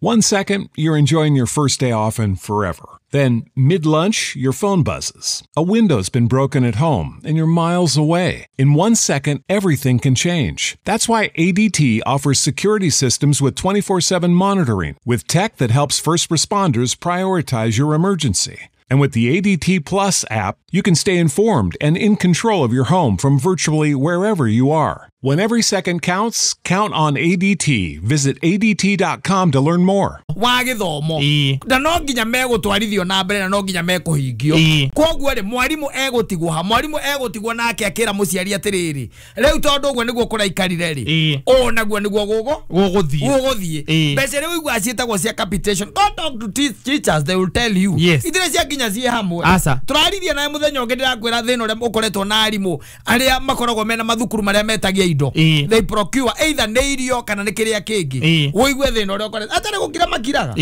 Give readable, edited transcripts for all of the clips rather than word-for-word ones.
1 second, you're enjoying your first day off and forever. Then, mid-lunch, your phone buzzes. A window's been broken at home, and you're miles away. In 1 second, everything can change. That's why ADT offers security systems with 24/7 monitoring, with tech that helps first responders prioritize your emergency. And with the ADT Plus app, you can stay informed and in control of your home from virtually wherever you are. When every second counts, count on ADT. Visit ADT.com to learn more. Wa gĩthomo na no nginya megũtwarithio na mbere na no nginya mekũhingio. Koguo rĩ, mwarimũ egũtigwo ha, mwarimũ egũtigwo nake akĩra mũciari atĩrĩrĩ, rĩu tondũ ũguo nĩguo kũraikarire rĩ, ũũ naguo nĩguo gũgũthiĩ. Mbeca iria ũiguaga ciĩtagwo cia capitation, go talk to teachers, they will tell you. Itirĩ cia nginya ciĩ hamwe. Tũraririe nawe mũthenya ũngĩ, ndĩrakwĩra thĩna ũrĩa ũkoretwo na arimũ arĩa makoragwo mena mathukuru marĩa metagia indo. They procure either nĩ irio kana nĩ kĩrĩa kĩngĩ. Ũigue thĩna ũrĩa ũkoretwo atarĩ gũkira makiraga.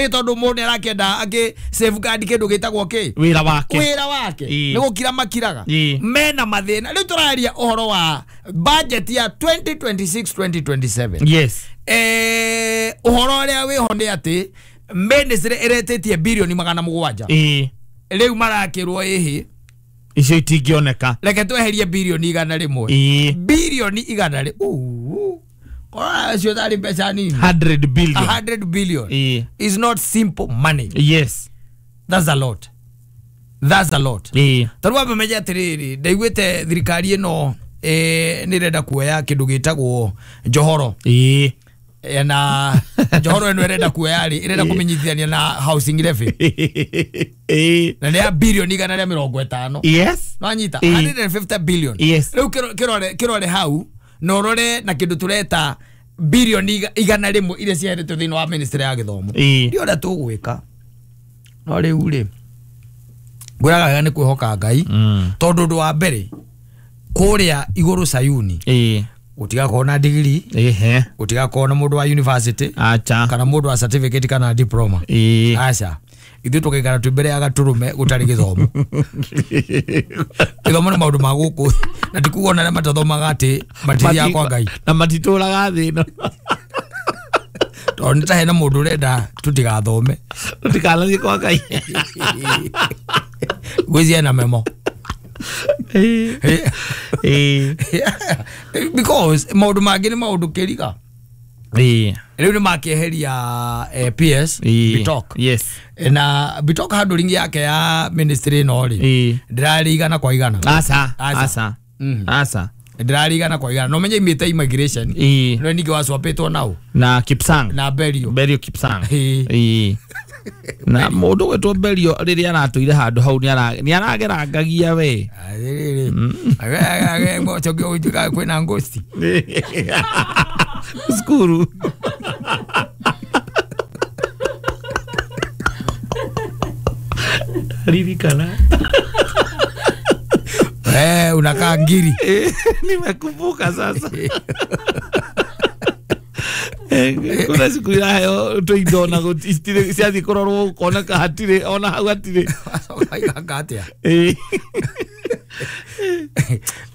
Tondũ mũndũ nĩ arakĩenda akĩ safeguard kĩndũ gĩtagwo kĩ? Wĩra wake. Wĩra wake. Nĩ gũkira makiraga. Mena mathĩna. Rĩu tũraria ũhoro wa budget ya 2026-2027. Yes. Ũhoro ũrĩa wĩho nĩ atĩ ministry ĩretĩtie birioni 700. Rĩu marakĩrwo ĩhĩ icio itingĩoneka. Reke tweherie birioni 100. Birioni 100. Kora cio tarĩ mbeca nini. 100 billion. 100 billion is not simple money. Yes. That's a lot. That's a lot. Tarũ ambe menye atĩrĩrĩ, ndaiguĩte thirikari ĩno nĩ ĩrenda kuoya kĩndũ gĩtagwo njohoro. Na njohoro ĩno ĩrenda kuoya rĩ, ĩrenda kũmenyithania na housing levy. Na nĩ ya birioni 150. Yes. Nwanyita 150 billion. Yes. Rĩu kĩrore hau na ũrore na kĩndũ tũreta birioni 100 iria ciaheretwo thĩinĩ wa ministry ya gĩthomo. Ndio ũrĩa tũgwĩka. No rĩu rĩ, ngwĩraga wega nĩ kwĩhoka Ngai, tondũ ũndũ wa mbere kũrĩa igũrũ Sayuni gũtigakorwo na degree, gũtigakorwo na mũndũ wa university, kana mũndũ wa certificate kana diploma. Aca, ithuĩ tũgaikara twĩ mbere ya gatũrũme gũtarĩ gĩthomo. Gĩthomo nĩ maũndũ ma gũkũ, na ti kuga ona arĩa matathomaga atĩ matithiaga kwa Ngai. Na matitũraga thĩ ĩno. Tondũ nĩ ta hena mũndũ ũrenda tũtigathome. Tũtikanathiĩ kwa Ngai. Gwĩciria ena memo. Because maũndũ mangĩ nĩ maũndũ kĩriga. Rĩu nĩ makĩeheria PS Bitok. Yes. Na Bitok handling yake ya ministry ĩno rĩ, ndĩrarĩ 100 kwa 100. Aca. Aca. Aca. Ndĩrarĩ 100 kwa 100. No menye imĩte immigration. No ningĩ wacwapĩtwo nao. Na Kipsang. Na Berio. Berio Kipsang. Na mũndũ gwĩtwo Berio rĩrĩa aratũire handũ hau nĩ aragerangagia we. Kwĩna ngosti. Cukuru. Ririkana. Unakaa ngiri. Nimekumbuka sasa. Kuna siku irayo tũindo na gũtirĩ ciathiĩ kũrorwo ũkoneka hatirĩ ona hau hatirĩ. Ũkaiganga atĩa?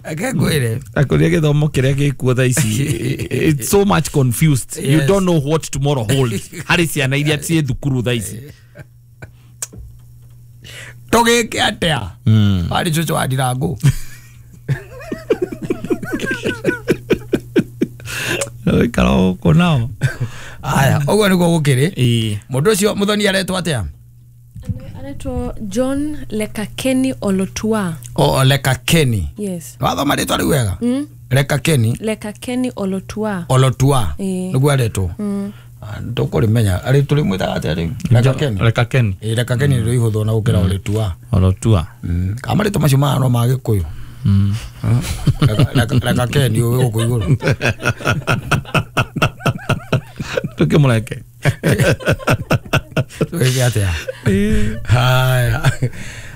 Reke ngwĩre. Akũria gĩthomo kĩrĩa gĩkuo thaa ici, it's so much confused. You don't know what tomorrow holds. Harĩ ciana iria ciĩ thukuru thaa ici. Tũgĩke atĩa? Harĩ cũcũ wa Ndirangũ. Ikara gũkũ nao. Aya, ũguo nĩguo gũkĩrĩ. Mũndũ ũcio mũthoni aretwo atĩa? Aretwo John Lekakeni Olotua. O Lekakeni. Yes. Wathoma rĩtwa rĩu wega? Lekakeni. Lekakeni Olotua. Olotua. Nĩguo aretwo. Ndũkũrĩmenya. Arĩ tũrĩmwĩtaga atĩa rĩu? Lekakeni. Lekakeni. Lekakeni nĩ ihũthũ na gũkĩra Olotua. Olotua. Kana marĩtwa macio maya no ma Gĩkũyũ. Lekakeni ũyũ gũkũ igũrũ. Tũkĩmũreke. Tũgĩke atĩa? Haya.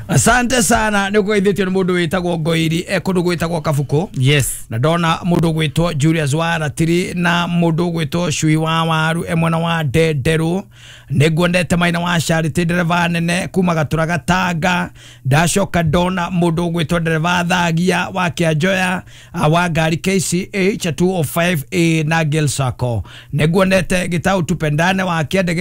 Asante sana nä å geithä tio nä må ndå wä tagwo Ngoiri e kå ndå gwä tagwo Kabuku. Yes. Na ndona må ndå gwätwo Julius wa Ratiri na må ndå gwätwo Cui wa Waru e mwena wa Ndenderũ. Nä nguonete Maina wa Charity, ndereba nene kuma Gatura Gatanga. Ndacoka ndona må ndå gwätwo ndereba Thagia wa Kĩanjoya, wa ngari KCH 205A na Gil Sacco. Nä nguonete Gĩtau Tupendane wa Kĩandege.